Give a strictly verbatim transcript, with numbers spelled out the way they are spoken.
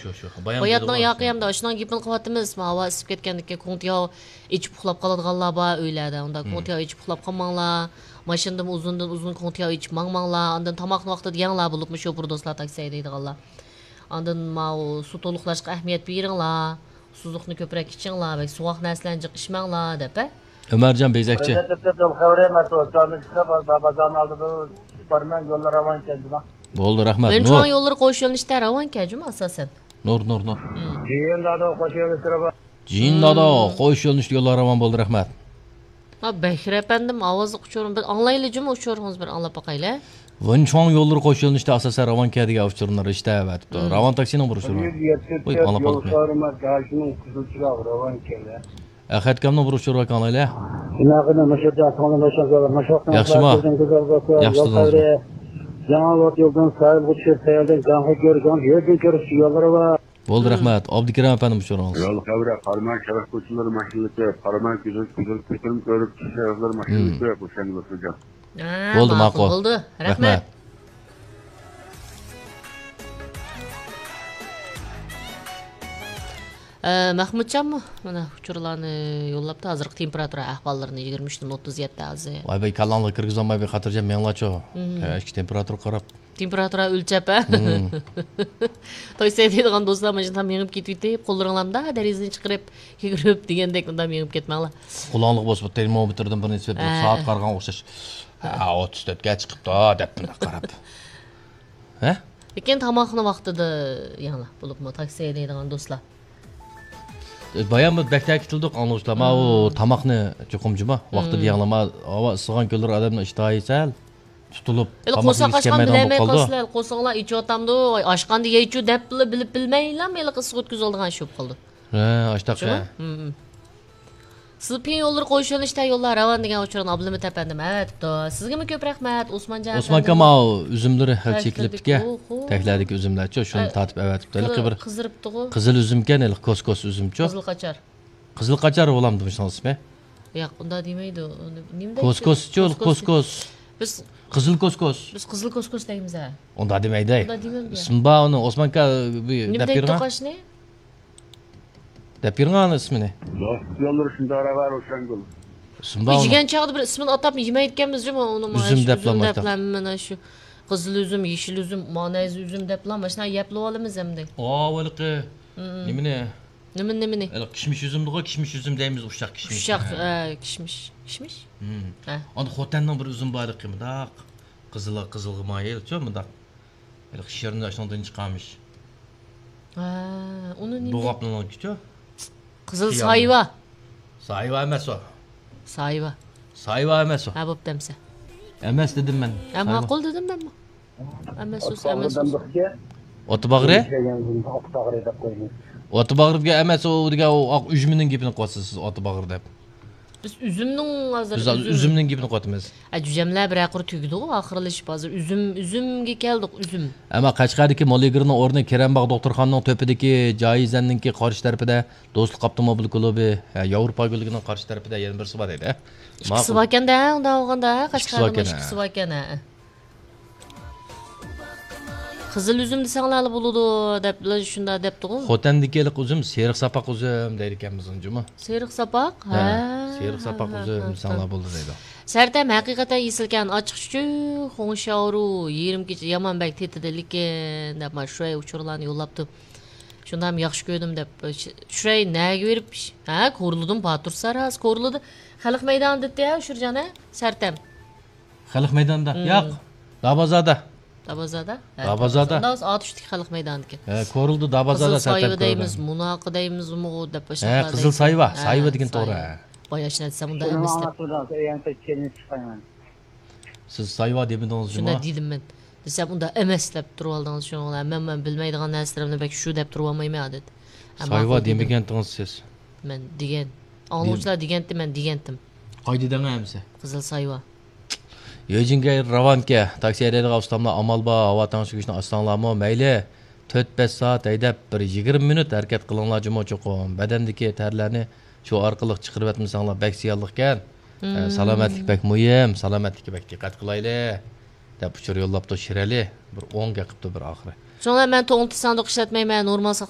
شۇ، شۇ. بايام باياتنىڭ دېدىغۇ ياقى ئاشۇ. ئەمدى ئاشۇنىڭ گېپىنى قىلىۋاتىمىز. ھاۋا ئىسسىپ كەتكەندىكىن كوڭتىياۋ ئېچىپ ئۇخلاپ قالىدىغانلار بار ئۆيلەردە. ئۇنداق مم. كوڭتىياۋ ئېچىپ ئۇخلاپ قالماڭلار. ماشىنىدىمۇ ئۇزۇندىن ئۇزۇن كوڭتىياۋ ئېچىپ ماڭماڭلار. ئاندىن تاماقنى ۋاقتىدا يەڭلار، بولۇپمۇ شوپۇر دوستلار، تاكسى ھەيدەيدىغانلار. ئاندىن ماۋۇ سۇ تولۇقلاشقا ئەھمىيەت بېرىڭلار. سۇزۇقنى كۆپرەك ئىچىڭلار، بەك سوغۇق نەرسىلەرنى جىق ئىچمەڭلار، دەپ، ھە؟ ئۆمەرجان بېزەكچى. بازارنى ئالدىدا بارىمەن، يوللار راۋان ئىكەن جۇما. بولدى، رەھمەت. ۋېنچۇاڭ نۇر. يوللىرى قوش يۆنىلىشتە راۋان ئىكەن جۇما، ئاساسەن. نۇر، نۇر، نۇر. جىيىن دادو قوش يۆنىلىشتە راۋان. جىيىن دادو قوش يۆنىلىشتە يوللار راۋان، بولدى، رەھمەت. ھا، بەكرى ئەپەندىم، ئاۋازلىق ئۇچۇرۇم. بىر ئاڭلايلى جۇما، ئۇچۇرىڭىزنى بىر ئاڭلاپ باقايلى. ۋېنچۇاڭ يوللىرى قوش يۆنىلىشتە ئاساسەن راۋان ئىكەن دېگەن ئۇچۇرنى رىشتە ئەۋەتىپتۇ. مم. راۋان تاكسىنىڭ بىر ئۇچۇرى. يۈز يەتتە ۋوي، ئاڭلاپ يول قالدۇق. سارىما داشنىڭ قىزىل چىراغ راۋان ئىكەن. ئەخەت ئاكامنىڭ بىر ئۇچۇرى بار، ئاڭلايلى. شۇنداق قىلىپ، مۇشۇ جاھاندا ماشىنا قىلىپ، مۇشۇ ياخشىما؟ يول ياخشى خەۋىرى. ياڭى لوت يولدىن سايىلغا چۈشۈپ، سەيلىدىن گاڭخې كۆرگەن يولدىن كۆرۈش يوللىرى بار. بولدى، رەھمەت. ئابدۇكېرىم ئەپەندىم، ئۇچۇرىڭىز. يول خەۋىرى، قاراماي شەرق كوچىلىرى ماشىنىلىرى كۆپ، قاراماي گۈزەل، گۈزەل كۆتۈرۈم كۆرۈپ، شەرقلەر ماشىنىلىرى كۆپ، ئوشۇڭ يوللىرى. ھە، بولدى، ماقۇل، ماقۇل. بولدى. رەھمەت. رەھمەت. ئە، مەخمۇتجانمۇ مانا ئۇچۇرلارنى يوللاپتۇ. ھازىرقى تېمپېراتۇرا ئەھۋاللىرىنى، يىگىرمە ئۈچتىن ئوتتۇز يەتتە ھازىر. ۋاي بەي، كاللاڭلارغا كىرگۈزەلمەي بىر خاتىرجەم مېڭىڭلارچۇ. مم. ئە، ئىچكى تېمپېراتۇرا قاراپ. تېمپېراتۇرا ئۆلچەپ، ھە؟ مم. تاكسى ھەيدەيدىغان دوستلار، مانا شۇنداق مېڭىپ كېتىۋېتىپ، قوللىرىڭلارنى دېرىزىدىن چىقىرىپ، يۈگۈرۈپ دېگەندەك مۇنداق مېڭىپ كەتمەڭلار. قۇلاقلىق بولسا، بۇ تېرمومېتىردىن بىرنى سېلىپ، ھە. سائەت قارىغانغا ئوخشاش. ھە، ئوتتۇز تۆتكە چىقىپتۇ دەپ مۇنداق قاراپ. ھە؟ لېكىن تاماقنى ۋاقتىدا يەڭلار، بولۇپمۇ تاكسى ھەيدەيدىغان دوستلار. بايام بىر بەك تەكىتلىدۇق ئاڭلىغۇچىلار. ماۋۇ مم. تاماقنى چوقۇم جۇما ۋاقتىدا مم. يەڭلار. ما-، ھاۋا ئىسسىغان كۈنلىرى ئادەمنىڭ ئىشتىھاسى سەل تۇتۇلۇپ، ھېلى تاماق قورساق يېيىسى ئاچقان كەلمەيدىغان بولۇپ بىلەلمەي قالىدۇ. قالسىلەر، قورسىقىڭلار ئېچىۋاتامدۇ، ۋاي، ئاچقاندا يەيچۇ دەپلا بىلىپ بىلمەيلام ھېلىقى ئىسسىق ئۆتكۈزۈۋالىدىغان ئىش بولۇپ قالىدۇ. ھە، ئاشتاق شۇ؟ ھە. مم. سىلپىن يوللىرى قوش يۆنىلىشتە يوللار راۋان دېگەن ئۇچۇرنى ئابلىمىت ئەپەندىم ئەۋەتىپتۇ. سىزگىمۇ كۆپ رەھمەت، ئوسمانجان ئوسمان ئەپەندىم. كامال ئۈزۈملىرى ھەل چېكىلىپتىكەن. تەكلىدىكى، ئوھو. تەكلەردىكى ئۈزۈملەرچۇ، شۇنى ھە، تارتىپ ئەۋەتىپتۇ. ھېلىقى بىر قىزىرىپتىغۇ. قىزىل ئۈزۈمكەن، ھېلىقى كوسكوس ئۈزۈمچۇ. قىزىل قاچار. قىزىل قاچار بولامدۇ مۇشۇنىڭ ئىسمى؟ ياق، ئۇنداق دېمەيدۇ. ئۇنى نېمە دەيدۇ؟ كوسكوسچۇ، كوسكوس. كوسكوس. بىز قىزىل كوسكوس. بىز قىزىل كوسكوس دەيمىز ھە. ئۇنداق دېمەيدۇ. ئۇنداق دېمەمدۇ؟ ئىسمى بار ئۇنىڭ، ئوسمان ئاكا، بۇ دەپ دەيدۇ بېرىڭا. توقاشنى؟ دەپ بېرىڭا ئۇنىڭ ئىسمىنى. دوست يوللىرى شۇنداق راۋا روشەنگۈل. ئىسمى بار ئۇنىڭ. يېگەن چاغدا بىر ئىسمىنى ئاتاپ يېمەيدىكەنمىز جۇمۇ ئۇنىمۇ. ئۈزۈم دەپلا مۇشۇ ئۈزۈم دەپلا مانا شۇ قىزىل ئۈزۈم، يېشىل ئۈزۈم، مانەيزە ئۈزۈم دەپلا ماشۇنداق يەپلىۋالىمىز ئەمدى. ئاۋۇ ھېلىقى نېمىنى؟ نېمىنى، نېمىنى؟ ھېلىقى كىشمىش ئۈزۈمدىغۇ، كىشمىش ئۈزۈم دەيمىز، ئۇششاق كىشمىش. ئۇششاق، ھە، كىشمىش. كىشمىش؟ ھە. ئاندىن خوتەننىڭ بىر ئۈزۈمى بار ھېلىقى مۇنداق قىزىل، قىزىلغا مايىل شۇ مۇنداق. ھېلىقى شىرنى شۇنىڭدىن چىقارمىش. ھە، ئۇنى نېمە دەيدۇ؟ بۇغاپنىڭكىچۇ؟ قىزىل سايۋا. سايۋا ئەمەس ئۇ. سايۋا. سايۋا ئەمەس ئۇ. ھە، بوپتۇ ئەمسە. ئەمەس دېدىم مەن. ھە، سايۋا. ماقۇل دېدىم مەنمۇ. ئەمەس ئۇ، ئەمەس ئۇ. ئوتباغرى؟ ئوتباغرى دېگەن ئەمەس ئۇ، دېگەن ئۇ ئاق ئۈجمىنىڭ گېپىنى قىلىۋاتىسىز سىز، ئوتباغرى دەپ. بىز ئۈزۈمنىڭ ھازىر بىز ھازىر ئۈزۈم. ئۈزۈمنىڭ گېپىنى قىلىۋاتىمىز. ئە، جۈجەملەر بىرەر قۇر تۈگىدىغۇ، ئاخىرلىشىپ ھازىر ئۈزۈم، ئۈزۈمگە كەلدۇق، ئۈزۈم. ئەمما قەشقەردىكى موللىگىرنىڭ ئورنى كېرەمباغ دوختۇرخانىنىڭ تۆپىدىكى جايىزەننىڭكى قارشى تەرىپىدە دوستلۇق ئاپتوموبىل كۇلۇبى، ھە، ياۋروپا گۈللۈكىنىڭ قارشى تەرىپىدە يەنە بىرسى بار ئىدى. ئىككىسى باركەن-دە، ئۇنداق بولغاندا، ئىككىسى قەشقەردىمۇ باركەن، ھە. ئىككىسى باركەن، ھە. قىزىل ئۈزۈم دېسەڭلارلا بولىدۇ دەپلا شۇنداق دەپتىغۇ. خوتەندىكى ھېلىقى ئۈزۈم سېرىق ساپاق ئۈزۈم دەيدىكەنمىز ئۇنى جۇمۇ. سېرىق ساپاق؟ ھە، ھە. سېرىق ساپاق ھە، ئۈزۈم ھە، دېسەڭلار ھە. بولىدۇ دەيدۇ. سەرتەم ھەقىقەتەن ئېسىلكەن، ئاچچىق چۈچۈك، خۇڭشياۋرۇ، يېرىم كېچە يامان بەك تېتىدى، لېكىن دەپ مانا شۇ ئۇچۇرلارنى يوللاپتۇ. شۇنداقمۇ ياخشى كۆردۈم دەپ، شۇرەي نەگە بېرىپ، ھە، كورلىدىمۇ باتۇر ساراس، كورلىدى. خەلق مەيدانى دېدى ھە، ئۇچۇرجان ھە، سەرتەم. خەلق مەيدانىدا؟ مم. ياق. دابازادا. دابازادا؟ ھە، دابازادا. ئۇنداق بولسا ئاتۇشتىكى خەلق مەيدانىدىكى. ھە، كورلىدا دابازادا قىزىل سايۋا دەيمىز، مۇناقى دەيمىز، ئۇمۇغۇ دەپ ھە، قىزىل سايۋا، ھە، سايۋا دېگەن توغرا. باياشنا دېسەم ئۇنداق ئەمەس دەپ. سىز سايۋا دېمىدىڭىز جۇمۇ. شۇنداق دېدىم مەن. دېسەم ئۇنداق ئەمەس دەپ تۇرۇۋالدىڭىز شۇنىڭ بىلەن. مەن، مەن بىلمەيدىغان نەرسىلىرىمنى بەك شۇ دەپ تۇرۇۋالمايمەن ئادەتتە. ھە، سايۋا ماقۇل دېدىم. دېمىگەنتىڭىز سىز. مەن دېگەن. ئاڭلىغۇچىلار دېگەنتى، مەن دېگەنتىم. قايدا دەڭە ئەمسە؟ قىزىل سايۋا. يۆجىنگەي راۋانكە، تاكسى ھەيدەيدىغان ئۇستاملار ئامال بار، ھاۋا تەڭشىگۈچنى ئاچساڭلارمۇ مەيلى. تۆت بەش سائەت ھەيدەپ، بىر يىگىرمە مىنۇت ھەرىكەت قىلىڭلار جۇمۇ چوقۇم. بەدەندىكى تەرلەرنى شۇ ئارقىلىق چىقىرىۋەتمىسەڭلار بەك زىيانلىقكەن. ئە، مم. سالامەتلىك بەك مۇھىم، سالامەتلىككە بەك دىققەت قىلايلى، دەپ ئۇچۇر يوللاپتۇ شىرئەلى. بىر ئوڭ گەپ قىپتۇ بىر ئاخىرى. شۇڭا مەن توڭلىتىش ساندۇق ئىشلەتمەيمەن، نورمال ساق